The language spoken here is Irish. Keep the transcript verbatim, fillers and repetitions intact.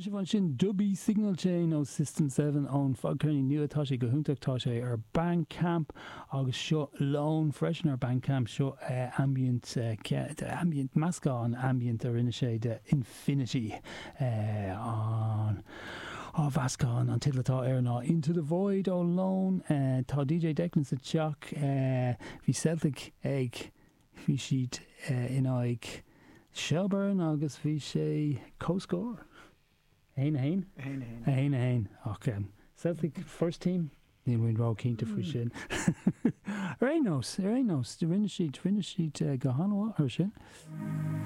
Chuala sibh ansin Dubby Signal Chain ó System Seven ón fadcheirnín nua tá sé go hiontach tá sé ar Bandcamp agus seo Lone freisin ar Bandcamp seo uh, ambient uh, ambient meascán ambient a rinne sé de Infinity uh, an á mheascán an teideal atá air ná Into the Void ó Lone uh, tá DJ Declan sa teach uh, bhí Celtic ag bhí siad uh, in aghaidh Shelbourne agus bhí sé comhscór. Haon haon? Haon A haon a haon ach um, Celtic first team níl mé róchinnte faoi sin. Ar aon nós ar aon nós rinne siad rinne siad uh, go han-mhaith ar sin.